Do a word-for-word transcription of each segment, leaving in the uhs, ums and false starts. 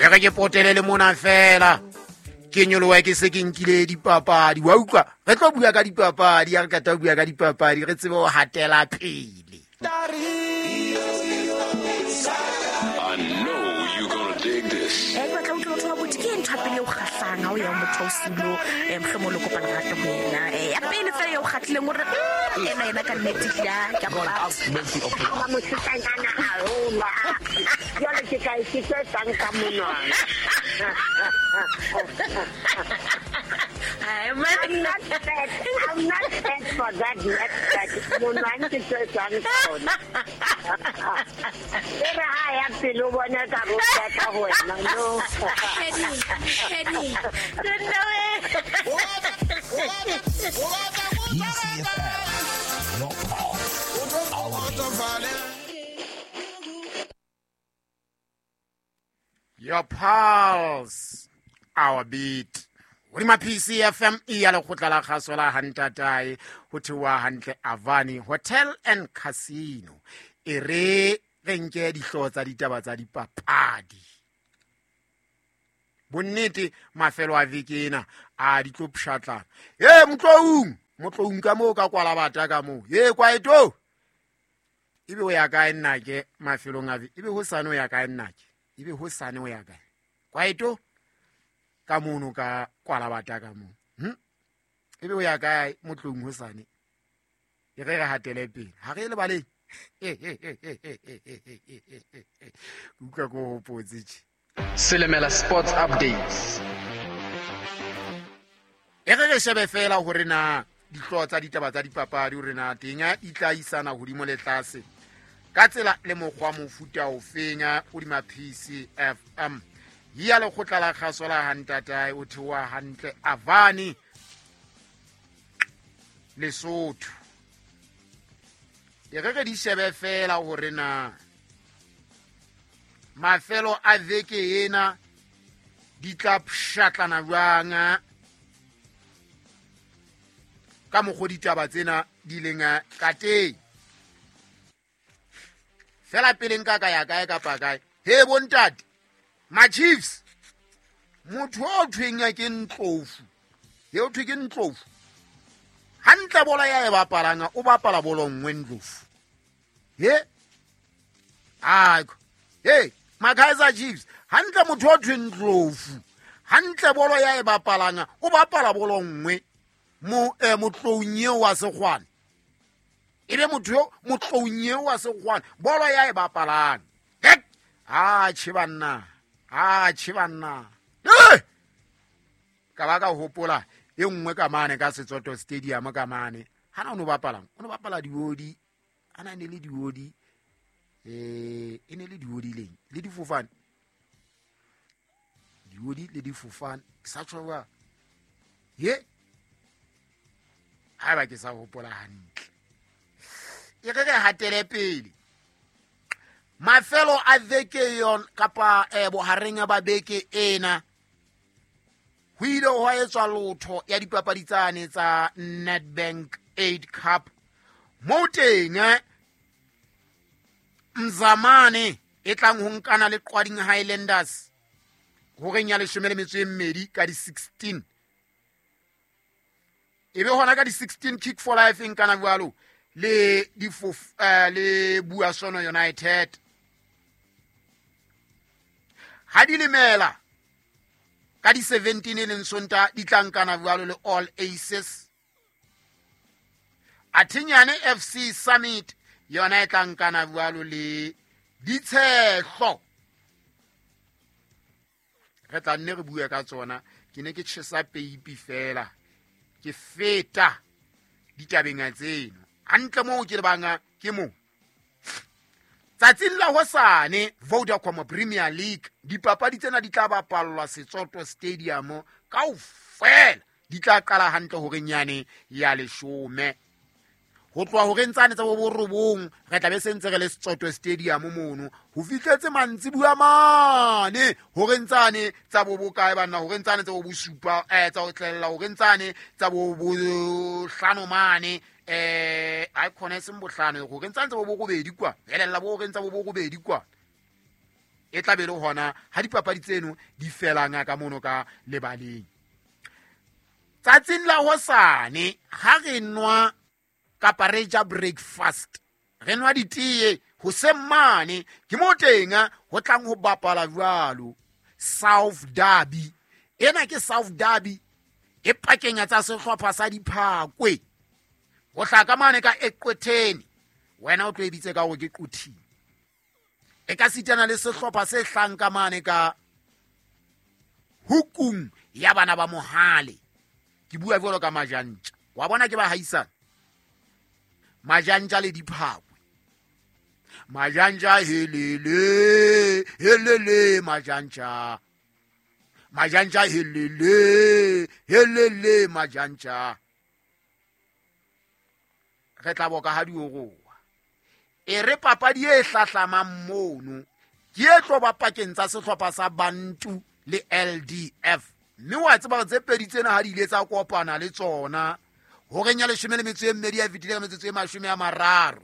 re ke potele le mona fela ke nyoloha ke se ke nkile dipapadi wa utlwa re tlo bua ka dipapadi ya re ka tla bua ka dipapadi re tsebe ho hatela pele. I know you're gonna dig this. Eh ke batla ho utlwa motho ke ntho pele o kgahlang ha o ya motho o silo eh mohlomong le kopana rata ho yena eh ya pele fela ya o kgatlileng hore ena yena ka nnete ya ke a ba mosetsanyana haholo jwale ke ka ke tse tsang ka monwana. I'm not fat. I'm not fat for that yet. Monwana ke tse tsang ka ona. E re ha ya pele o bona ka ro ka ho wena no. Penny, Penny. P C F M, your pulse, our beat. Your pulse, our beat. Hodima P C F M e ya lekgotla la kgaso la Hantatae ho theoha hantle Avani Hotel and Casino. E re re nke dihlooho tsa ditaba tsa dipapadi. Bonnete mafelo a veke ena a di tlo pshatlana. He motloung, motloung ka moo ka kwala bata ka moo. He kwaeto. Ebe o ya kae nna ke mafelong a veke? Ebe ho sane o ya kae nna ke? Ebe ho sane o ya kae? Kwaeto ka mono ka kwala bata ka moo. Hm? Ebe o ya kae motloung ho sane? E re re hatele pele. Ha re le baleng. Utlwa ko hopotse tje. Silimela Sports Updates. E re re shebe fela hore na dihlooho tsa ditaba tsa dipapadi hore na teng di tla isana hodimo le tlase ka tsela le mokgwa mofuta ofeng hodima P C F M. Ya lekgotla la kgaso la Hantatae o theoha hantle Avani Lesotho. E re re di shebe fela hore na mafelo a veke ena di tla pshatlana jwang ka mokgwa ditaba tsena di leng ka teng. Fela pele nka ka ya kae kapa kae. He bontate, ma Chiefs, motho o thweng ke Ntlofu. He o thwe ke Ntlofu. Hantle bola ya e bapalanga o bapala bolo nngwe Ndlofu. He? Ai. Hey, Makaizer Chiefs, hantle motho o thwe Ndlofu. Hantle bolo ya e bapalanga o bapala bolo nngwe mo eh motloung eo wa Sekgwane. Ebe motho yo motloung eo wa Sekgwane bolo ya e bapalang. Hek! Ah, che banna. Ah, che banna. Eh! Ka ba ka hopola e nngwe ka mane ka Setsoto Stadium ka mane. Hana o no bapalang, o no bapala diodi. Ana ne le diodi. Eh, e ne le diodi leng le difofane. Diodi le difofane. Ke sa tshwa. Ye. Ha ba ke sa hopola hantle. E re re hatele pele. Mafelo a veke yon kapa eh bohareng ba beke ena. Ho ile hwa etswa lotho ya dipapadi tsane tsa Nedbank eight Cup. Mo teng Mzamane e tlang ho nkana le Qwading Highlanders horeng ya leshome le metso e mmedi ka di sixteen. Ebe hona ka di sixteen Kick for Life nkana jwalo le di uh, le Buasono United. Ha di lemela ka di seventeen e leng Sonta di tla nkana jwalo le All Aces. Athinyane F C Summit yona e tla nkana jwalo le Ditshehlo. Re tla nne re bue ka tsona. Ke ne ke tjhesa peipi fela ke feta ditabeng tseno hantle moo ke le banga ke mo. Tsatsing la hosane Vodacom Premier League dipapadi tsena di tla bapallwa Setsoto Stadium kaofela. Di tla qala hantle horeng yane ya leshome. Ho tloha horeng tsane tsa bo borobong re tla be se ntse re le Setsoto Stadium mono ho fihletse mantsibuya mane horeng tsane tsa bo bokae banna horeng tsane tsa bo bosupa eh tsa ho tlella horeng tsane tsa bo bohlano mane eh a khona e seng bohlano horeng tsane tsa bo borobedi kwa helella bo horeng tsa bo borobedi kwa E tla be le hona ha dipapadi tseno di felang ka mono ka lebaleng. Tsatsing la hosane ha re nwa kapa re ja breakfast, re nwa ditee hoseng mane, ke mo teng ho tlang ho bapala jwalo South Derby. Ena ke South Derby e pakeng tsa sehlopha sa Diphakwe ho hlaka mane ka Eqwetheni. Wena o tlo e bitse ka hore ke Quthing. E ka sitana le sehlopha se hlang ka mane ka hukung ya bana ba Mohale. Ke bua jwalo ka Majantja. Wa bona ke ba haisana Majantja le Diphakwe. Majantja helele helele Majantja, Majantja helele helele Majantja. Re tla boka ha dioroa. E re papadi e hlahlamang mono ke e tlo ba pakeng tsa sehlopha sa Bantu le L D F. Mme wa tseba tse pedi tsena ha di ile tsa kopana le tsona horeng ya leshome le metso e mmedi ya fetile ka metsotso e mashome a mararo.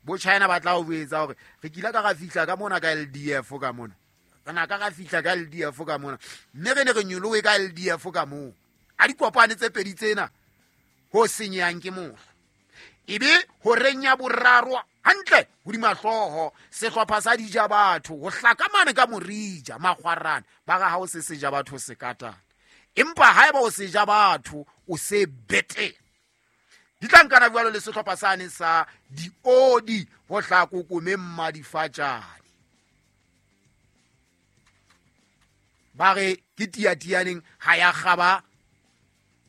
Bo China ba tla o etsa hore re kila ka ra fihla ka mona ka L D F ka mona. Re na ka ra fihla ka L D F ka mona. Mme re ne re nyolowe ka L D F ka moo. A di kopane tse pedi tsena ho senyang ke mohla. Ebe horeng ya boraro hantle hodima hlooho sehlopha sa dija batho ho hlaka mane ka Morija Makgwarane ba ga ha o se seja batho se katana. Empa haeba o seja batho o se bete. Di tla nkana jwalo le sehlopha sane sa Diodi ho hlako kome mmadifatjane. Ba re ke tiatianeng ha ya kgaba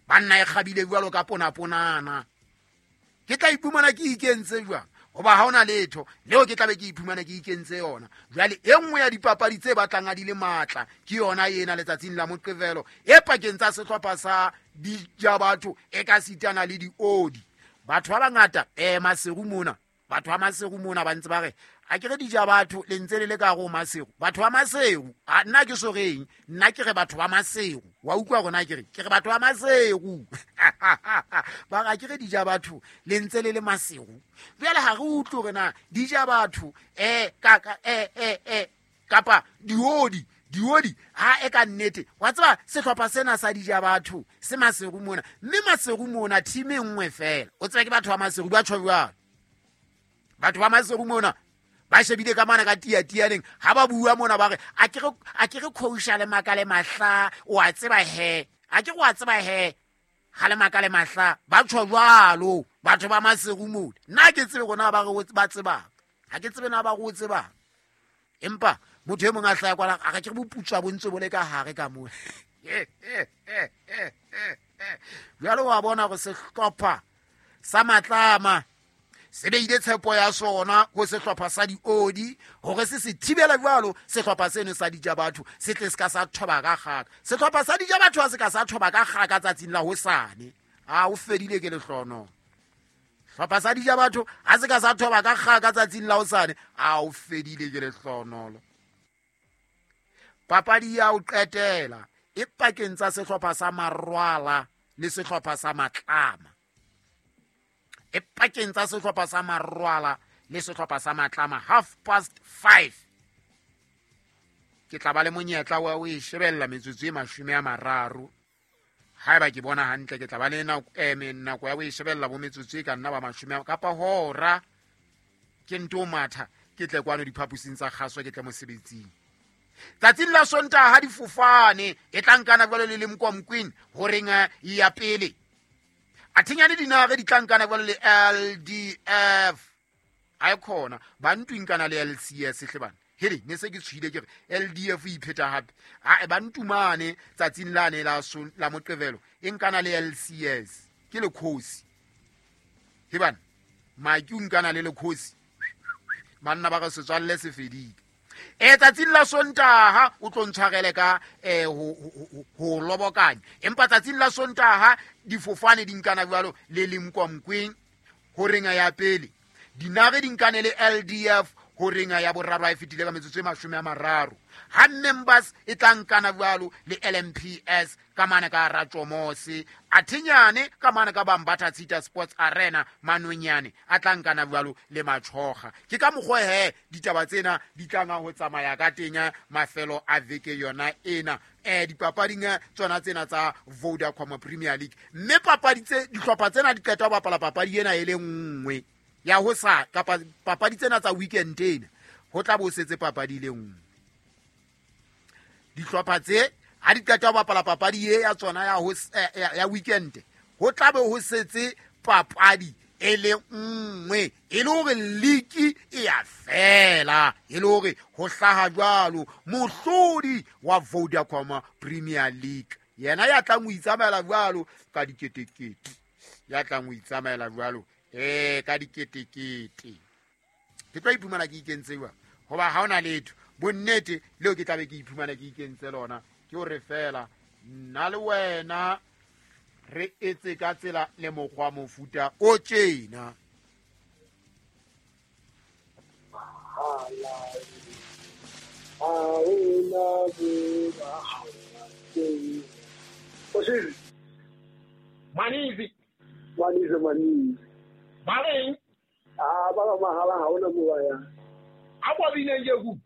banna e kgabile jwalo ka pona ponana. Ke tla iphumana ke ikentse jwang? Hoba ha hona letho leo ke tla be ke iphumana ke ikentse yona. Jwale e nngwe ya dipapadi tse batlang a di le matla ke yona ena letsatsing la Moqebelo e pakeng tsa sehlopha sa dija batho e ka sitana le Diodi. Batho ba bangata eh Maseru mona, batho ba Maseru mona ba ntse ba re a ke re dija batho le ntse le le ka go Maseru. Batho ba Maseru a nna ke soreng, nna ke re batho ba Maseru. Wa utlwa rona ke re ke re batho ba Maseru. Ba re ke re dija batho le ntse le le Maseru. Jwale ha re utlwe hore na dija batho eh ka ka eh eh eh kapa Diodi Diodi ha e ka nnete. Wa tseba sehlopha sena sa dija batho se Maseru mona, mme Maseru mona team e nngwe fela. O tseba ke batho ba Maseru ba tjho jwalo. Batho ba Maseru mona ba shebile ka mana ka tiatianeng ha ba bua mona ba re a ke re a ke re coacha le makale mahla o a tseba he a ke go a tseba he ha le makale mahla ba tjho jwalo batho ba Maseru mona. Nna ke tsebe rona ba re ba tseba ha ke tsebe na ba go tseba, empa motho e mong a hlaya kwala a ke re boputswa bo ntse bo le ka hare ka mo. Jwalo wa bona go sehlopha sa Matlama se beile tshepo ya sona ho sehlopha sa Diodi hore se se thibela jwalo sehlopha seno sa dija batho se tle se ka sa thoba ka kgaka. Sehlopha sa dija batho ha se ka sa thoba ka kgaka tsatsing la hosane, a o fedile ke lehlono. Sehlopha sa dija batho ha se ka sa thoba ka kgaka tsatsing la hosane, a o fedile ke lehlonolo. Papadi ya o qetela e pakeng tsa sehlopha sa Marwala le sehlopha sa Matlama. E pakeng tsa sehlopha sa Marwala le sehlopha sa Matlama half past five. Ke tla ba le monyetla wa o e shebella metsotso e mashome a mararo. Haeba ke bona hantle ke tla ba le nako eh nako ya o e shebella bo metsotso e ka nna ba mashome kapa hora. Ke nto matha ke tle kwano diphapusing tsa kgaso ke tle mosebetsing. Tsatsing la Sontaha ha difofane e tla nkana jwalo le Lemkomqueen horeng ya pele. Athinyane dinare di tlankana jwalo le L D F. A khona ba ntwinkana le L C S hle bana. Hele ne se ke tshwile ke re L D F e ipheta hape. A ba ntumane tsatsing lane la la Moqebelo e nkana le L C S ke le khosi. He bana maki o nkana le le khosi. Banna ba re setswalle se fedile. E tsatsing la Sontaha o tlo ntshwarele ka eh ho ho lobokanya. Empa tsatsing la Sontaha difofane di nkana jwalo le Lemkomqueen horeng ya pele. Dinare di nkane le L D F Horeng ya boraro a e fetile ka metsotso e mashome a mararo. Ha members e tla nkana jwalo le L M P S ka mane ka Ratjomose, Athinyane ka mane ka Bambatha Tshita Sports Arena, Manonyane a tla nkana jwalo le Matshoga. Ke ka mokgwa he ditaba tsena di tlanga ho tsamaya ka tenya mafelo a veke yona ena. Eh dipapading tsona tsena tsa Vodacom Premier League. Mme papadi tse dihlopha tsena di qeta ho bapala papadi ena e le nngwe ya ho sa kapa papadi tsena tsa weekend ena ho tla bo setse papadi le nngwe. Dihlopha tse ha di qeta ho bapala papadi e ya tsona ya ho ya weekend ho tla be ho setse papadi e le nngwe e le hore league e ya fela, e le hore ho hlaha jwalo mohlodi wa Vodacom Premier League yena ya tlang ho itsamaela jwalo ka diketekete, ya tlang ho itsamaela jwalo eh ka diketekete. Ke tlo iphumana ke ikentse jwang hoba ha hona letho bonnete leo ke tlabe ke iphumana ke ikentse lona ke hore fela nna le wena re etse ka tsela le mokgwa mofuta o tjena. Manizi manizi manizi Baleng ah ba mahala ha ona mo ya a kwa bine nje ku